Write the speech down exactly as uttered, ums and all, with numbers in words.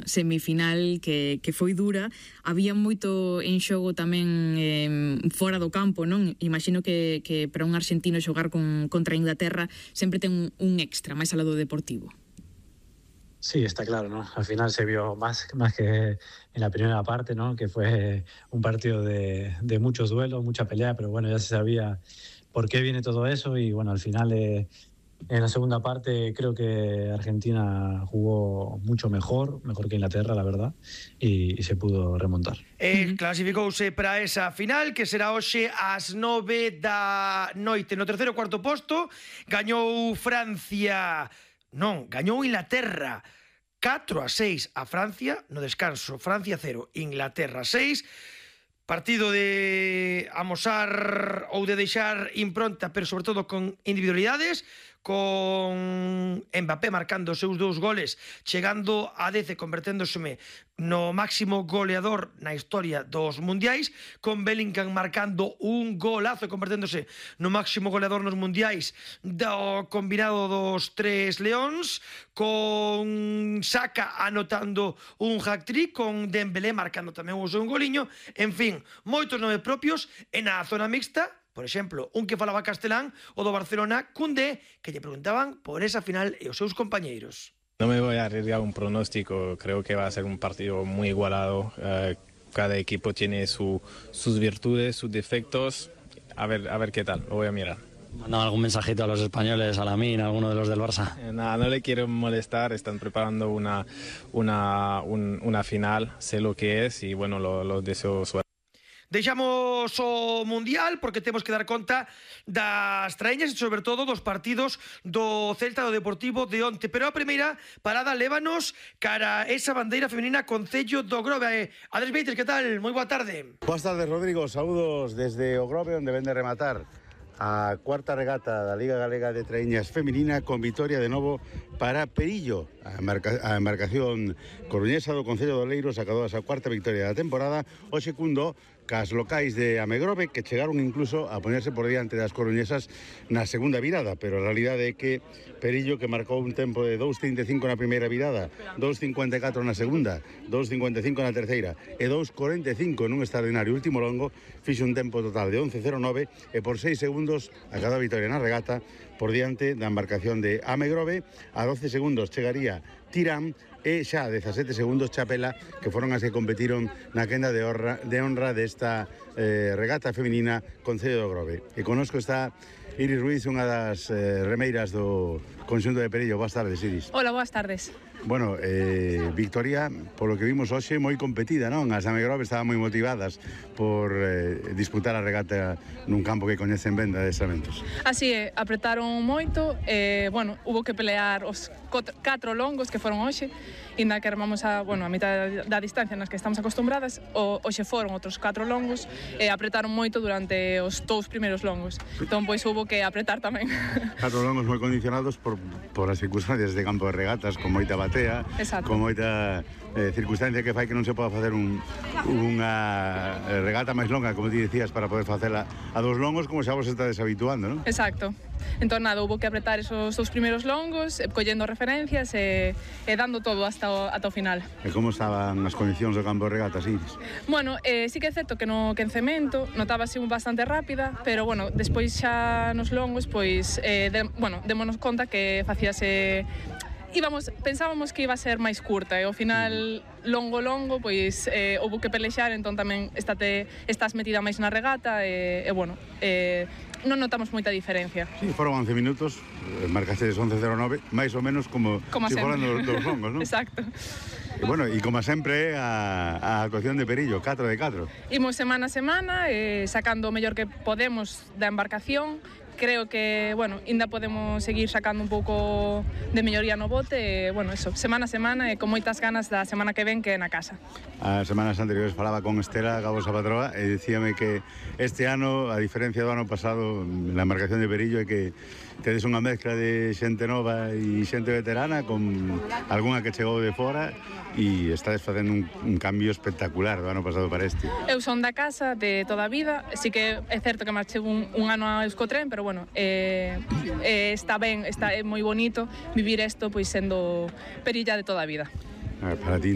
esa semifinal que, que foi dura. Había moito en xogo tamén eh, fora do campo, non? Imagino que, que para un argentino xogar con, contra Inglaterra sempre ten un, un extra, máis alá do deportivo. Sí, está claro, ¿no? Al final se vio más, más que en la primera parte, ¿no? Que fue un partido de, de muchos duelos, mucha pelea, pero bueno, ya se sabía por qué viene todo eso y bueno, al final eh, en la segunda parte creo que Argentina jugó mucho mejor, mejor que Inglaterra, la verdad, y, y se pudo remontar. E clasificouse para esa final que será hoxe ás nove da noite. No terceiro e cuarto posto gañou Francia, non, gañou Inglaterra catro a seis a Francia no descanso. Francia cero, Inglaterra seis. Partido de amosar ou de deixar impronta, pero sobre todo con individualidades, con Mbappé marcando os seus dous goles, chegando a dez e converténdoseme no máximo goleador na historia dos mundiais, con Bellingham marcando un golazo e converténdose no máximo goleador nos mundiais do combinado dos tres leóns, con Saka anotando un hat-trick, con Dembélé marcando tamén o seu goliño, en fin, moitos nomes propios. E na zona mixta, por exemplo, un que falaba castelán, o do Barcelona, Koundé, que lle preguntaban por esa final e os seus compañeiros. No me voy a arriesgar un pronóstico, creo que va a ser un partido muy igualado. Uh, cada equipo tiene su, sus virtudes, sus defectos. A ver, a ver qué tal, lo voy a mirar. ¿Mandaba algún mensajito a los españoles, a Lamine, a alguno de los del Barça? Eh, nada, no le quiero molestar, están preparando una, una, un, una final, sé lo que es y bueno, lo, lo deseo suerte. Deixamos o Mundial porque temos que dar conta das traeñas e sobre todo dos partidos do Celta do Deportivo de onte. Pero a primeira parada lévanos cara esa bandeira femenina Concello do Grove. Andrés Beites, que tal? Moi boa tarde. Boas tardes, Rodrigo. Saúdos desde o Grove, onde ven de rematar a cuarta regata da Liga Galega de Traeñas Femenina con vitoria de novo para Perillo. A, embarca, a embarcación coruñesa do Concello de Oleiros acadou a súa cuarta victoria da temporada. O segundo cas locais de Amegrove, que chegaron incluso a ponerse por diante das coruñesas na segunda virada, pero a realidade é que Perillo, que marcou un tempo de dos trinta e cinco na primeira virada, dos cincuenta e catro na segunda, dos cincuenta e cinco na terceira e dos cuarenta e cinco nun extraordinario último longo, fixe un tempo total de once cero nove e por seis segundos a cada vitória na regata por diante da embarcación de Amegrove. A doce segundos chegaría Tirán e xa a dezasete segundos Chapela, que foron as que competiron na quenda de honra, de honra desta eh, regata femenina Concello do Grove. E conosco está Iris Ruiz, unha das eh, remeiras do conxunto de Perillo. Boas tardes, Iris. Hola, boas tardes. Bueno, eh, victoria, polo que vimos hoxe, moi competida, non? As Amegrove estaban moi motivadas por eh, disputar a regata nun campo que coñecen ben de adestramentos. Así é, apretaron moito, eh, bueno, hubo que pelear os catro longos que foron hoxe, inda que armamos a, bueno, a mitad da distancia nas que estamos acostumbradas, o, hoxe foron outros catro longos, e eh, apretaron moito durante os dous primeiros longos. Entón, pois, hubo que apretar tamén. Catro longos moi condicionados por, por as circunstancias de campo de regatas, con moita batea, exacto, con moita eh, circunstancia que fai que non se poda facer un, unha regata máis longa, como ti dicías, para poder facela a dos longos, como xa vos estades habituando, non? Exacto. Entón, nada, hubo que apretar esos dous primeiros longos, eh, collendo referencias e, e dando todo hasta o, ata o final. E como estaban as condicións do campo de regatas, Iris? Bueno, eh, sí que é certo que no que en cemento notábase bastante rápida, pero bueno, despois xa nos longos, pois, eh, de, bueno, démonos conta que facíase... Íbamos, pensábamos que iba a ser máis curta e ao final longo longo pois eh, houve que pelexar, entón tamén estate, estás metida máis na regata e, e bueno, eh, non notamos moita diferencia. Sí, foron once minutos, marcaste once cero nove, máis ou menos como, como si foran dos, dos longos, non? Exacto. E bueno, e como sempre a, a actuación de Perillo, catro de catro. Imos semana a semana, eh, sacando o mellor que podemos da embarcación. Creo que, bueno, ainda podemos seguir sacando un pouco de melloría no bote, e, bueno, eso, semana a semana e con moitas ganas da semana que ven que é na casa. As semanas anteriores falaba con Estela, a vosa patroa, e dicíame que este ano, a diferencia do ano pasado, na embarcación de Perillo, é que tedes unha mezcla de xente nova e xente veterana, con algunha que chegou de fora, e estades facendo un, un cambio espectacular do ano pasado para este. Eu son da casa de toda a vida, sí que é certo que marchei un, un ano a Euskotren, pero bueno, eh, eh, está ben, está é moi bonito vivir isto pois sendo perilla de toda a vida. Para ti